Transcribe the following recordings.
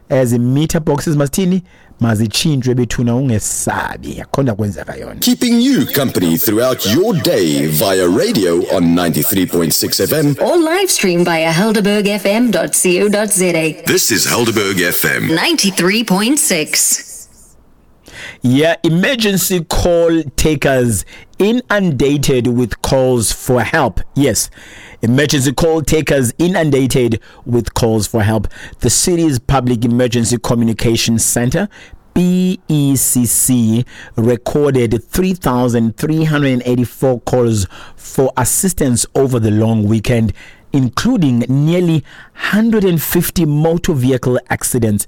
Ezi meter boxes masithini, mazitshintshwe bethuna, ungesabi, akho nto kwenzeka yona. Keeping you company throughout your day via radio on 93.6 FM. Or live stream via helderbergfm.co.za. This is Helderberg FM. 93.6. Yeah, emergency call takers inundated with calls for help. Yes, emergency call takers inundated with calls for help. The city's Public Emergency Communication Center, PECC, recorded 3,384 calls for assistance over the long weekend, including nearly 150 motor vehicle accidents.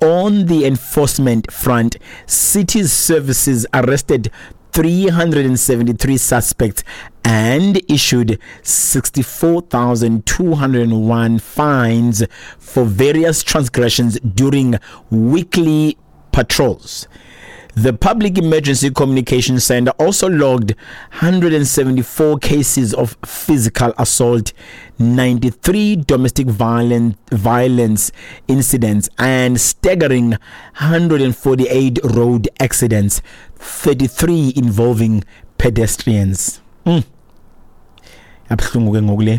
On the enforcement front, city services arrested 373 suspects and issued 64,201 fines for various transgressions during weekly patrols. The Public Emergency Communication Center also logged 174 cases of physical assault, 93 domestic violence incidents, and staggering 148 road accidents, 33 involving pedestrians. Abuhlungu ke ngoku le.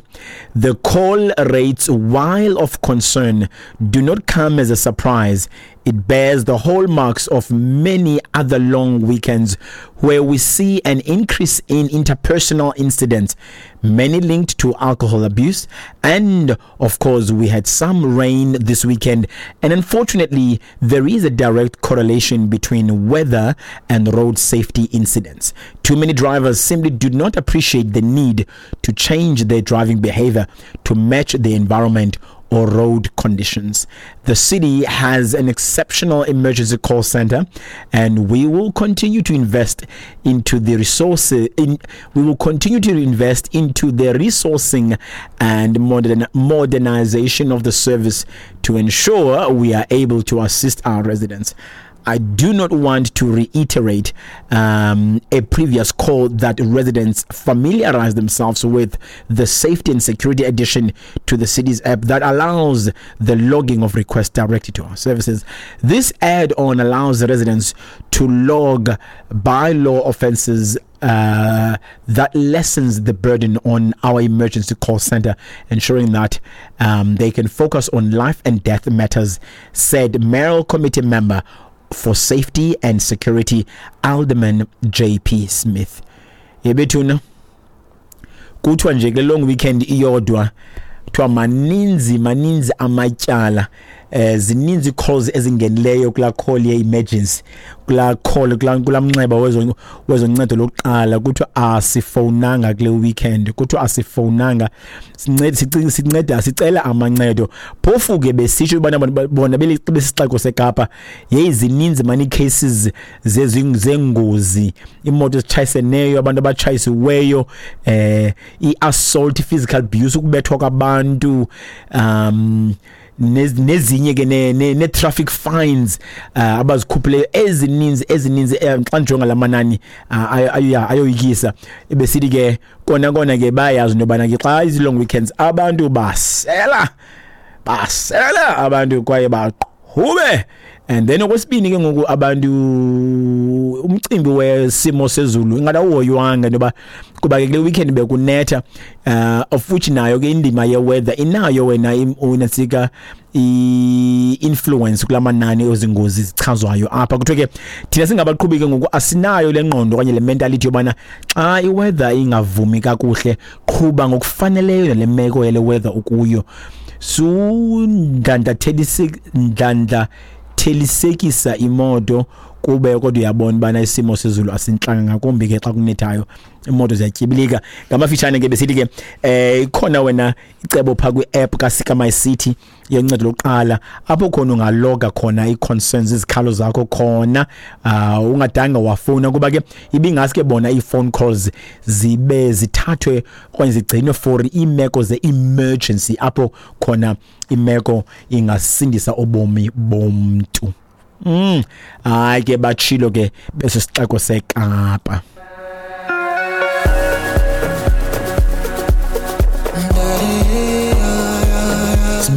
The call rates, while of concern, do not come as a surprise. It bears the hallmarks of many other long weekends where we see an increase in interpersonal incidents, many linked to alcohol abuse. And of course, we had some rain this weekend. And unfortunately, there is a direct correlation between weather and road safety incidents. Too many drivers simply do not appreciate the need to change their driving behavior to match the environment or road conditions. The city has an exceptional emergency call center, and we will continue to invest into the resources in we will continue to invest into the resourcing and modernization of the service to ensure we are able to assist our residents. I do not want to reiterate a previous call that residents familiarize themselves with the safety and security addition to the city's app that allows the logging of requests directed to our services. This add-on allows residents to log bylaw offenses that lessens the burden on our emergency call center, ensuring that they can focus on life and death matters, said Mayoral Committee member for Safety and Security, Alderman JP Smith. Yebethuna, kuthiwa nje kule long weekend iyodwa, kuthiwa maninzi maninzi amatyala, zininzi calls ezingenileyo kula call ye emergency, kula call, kula mnxeba wezoncedo lokuqala. Kuthiwa asifonanga kule weekend, kuthiwa asifonanga, sinceda sicela amancedo. Phofu ke besitsho ubana bona besixeko seKapa, yeyi, zininzi mani cases zengozi, imoto ezitshayiseneyo, abantu abatshayisiweyo, i-assault, physical abuse, ukubethwa kwabantu, nezinye ke ne-traffic fines abazikhuphileyo ezininzi ezininzi. Xa ndijonga la manani, ayoyikisa. Besithi ke kona kona ke bayazi into yobana ke xa izi-long weekends abantu basela, basela abantu kwaye baqhube. And then okwesibini ke ngoku, abantu, umcimbi wesimo sezulu ingathi awuhoywanga into yoba kuba ke kule weekend bekunetha, of which nayo ke indima ye-weather inayo wena unantsika i-influence kula manani ezingozi zichazwayo apha. Kuthiwe ke thina singabaqhubi ke ngoku asinayo le ngqondo okanye le mentality yobana xa i-weather ingavumi kakuhle, qhuba ngokufaneleyo nale meko yale weather ukuyo. Sundlandlathelisekisa imoto kube kodwa uyabona ubana isimo sezulu asintlanga, ngakumbi ke xa kunethayo, imoto ziyatyibilika. Ngamafitshane ke besithi ke ikhona wena icebo phaa kwi-app kaSika My City yoncedo lokuqala, apho khona ungaloga khona ii-concerns, izikhalo zakho khona, ungadanga wafowuna, kuba ke ibingaske bona ii-phone calls zibe zithathwe okanye zigcinwe for iimeko ze-emergency, apho khona imeko ingasindisa ubomi bomntu. Hayi ke, batshilo ke besisixeko seKapa.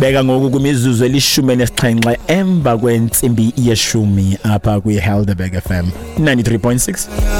Isibeka ngoku kwimizuzu 17 emva kwentsimbi yeshumi apha kwi-Helderberg FM 93.6.